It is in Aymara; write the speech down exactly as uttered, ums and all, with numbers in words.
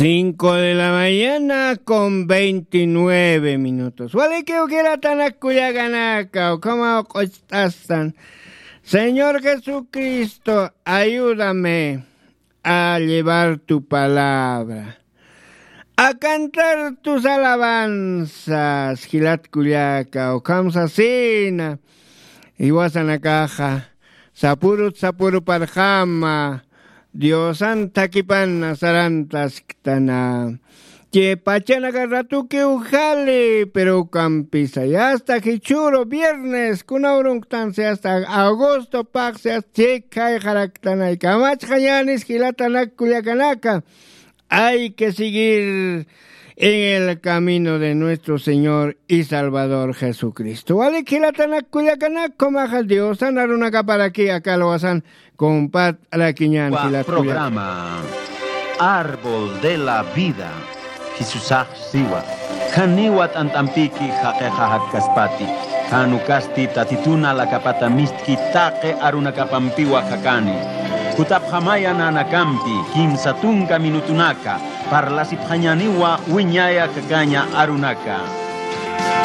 Cinco de la mañana con veintinueve minutos. Walikiw jilatanak kullakanaka, ukhamaw q'ucht'astan. Señor Jesucristo, ayúdame a llevar tu palabra, a cantar tus alabanzas, jilat kullaka, ukham sasina, jiwasanakaxa, sapurut sapuruparxama, Diosan thakipana sarantasktana. Chay pachanaka ratukiw jali, pero ukampisa, yasta jichhüru viernes, kuna urunktansi, yasta agosto paqsi, yasta chhik jayxaraktanay, kamachxañänis jilatanak kullakanaka. Hay que seguir en el camino de nuestro Señor y Salvador Jesucristo. Walik jilatanak kullakanak, ukhamaxa Diosan arunakaparaki aka alwasan compart'arakiñän Wa jilat kullaka. Programa Árbol de la Vida. Jisusax siwa. Janiwa t'ant'ampiki jaqixa jakkaspati. Jan ukasti Tatitun alakapata mistki taqi arunakapampiwa jakani. Jutapxamaya nanakampi kimsa tunka minutunaka, parlasipxañäniwa wiñaya jakaña arunaka.